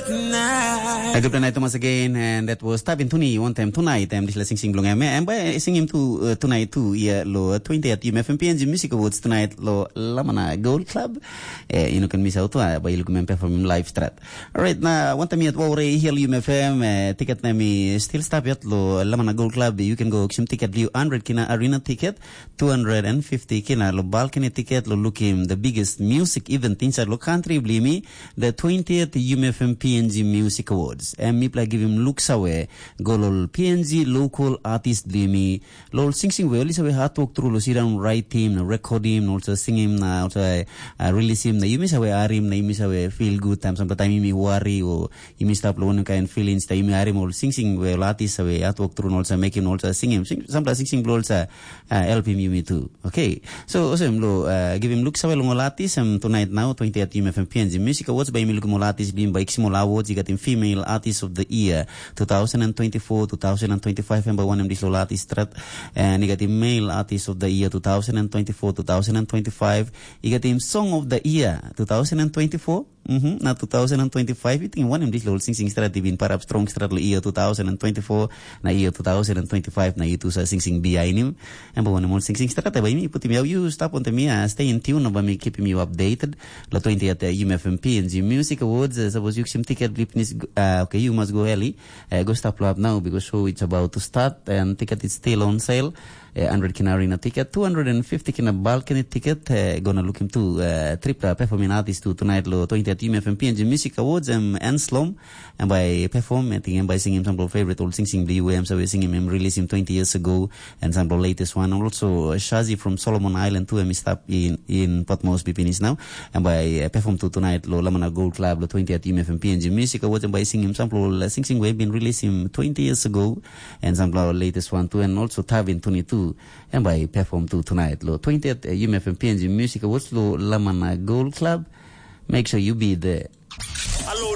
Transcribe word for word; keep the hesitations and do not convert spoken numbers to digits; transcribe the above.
A good night, Thomas, again, and that was Tabin Tuni, one time tonight, em dispela singsing bilong em, em bai singim tu uh, tonight tu ia lo twentieth U M F M P N G Music Awards tonight lo Lamana Gold Club. Eh, you know, can miss out, uh, bai lukim em perform live strat. Alright, na one time yet, wau rei hiel U M F M, eh, ticket na mi still stop yet lo Lamana Gold Club, you can go auction ticket liu hundred kina arena ticket, two hundred and fifty kina lo balcony ticket lo lukim the biggest music event inside lo country blimi, the twentieth U M F M P N G Music Awards. Em mipela givim luk sawe go lo P N G local artist blimi, lo ol singsing we oli sawe hard work tru lo sit down writing, na recording, na also singim, na also uh, release him, na yumi sawe arim, na yumi sawe feel good time, sample time yumi worry o yumi stap lo one kind feelings, ta yumi arim ol singsing we ol artist sawe hard work tru, na also make him also singim, sing, sample singsing blo also uh, help him yumi too. Okay. So, awesome lo, uh, give him look sawe long ol artist, um, tonight now, twentieth U M F M P N G Music Awards, by mi lukum ol artist bim by Kisim ol awards, you got him female artist of the year, two thousand and twenty-four, two thousand and twenty-five, and by one of these ol artist strat, and you got him male artist of the year, two thousand and twenty-four, two thousand and twenty-five, you got him song of the year, two thousand and twenty-four, Mm-hmm. Na two thousand and twenty-five, I think one of these little sing sing strat bin parap strong strat lo year two thousand and twenty-four, na year two thousand and twenty-five, na year two sa sing sing behind him. And but one more sing sing strat by me, put him out, you stop on me, uh, stay in tune, by me keeping you updated. La twenty at the U M F M P and G Music Awards, uh, suppose you some ticket blipnis, uh, okay, you must go early, uh, go stop lo up now because show it's about to start and ticket is still on sale. Eh, hundred kina arena ticket, two hundred and fifty kina balcony ticket, eh, gonna look him too, eh, tripla performing artist too tonight lo twentieth U M F M P and G Music Awards, em Anslom, em by perform, I think em by singing some of favorite old sing sing the U M, so we sing him, him release him twenty years ago, and some of the latest one. Also, uh, Shazi from Solomon Island too, em stop in, in Port Moresby finish now, and by uh, perform too tonight lo Lamana Gold Club lo twentieth U M F M P and G Music Awards, and by sing him some of the sing sing we been release him twenty years ago, and some of the latest one too, and also Tavin twenty-two, and by perform too tonight lo twentieth uh, U M F M P and G Music Awards lo Lamana Gold Club. Make sure you be there. Hello,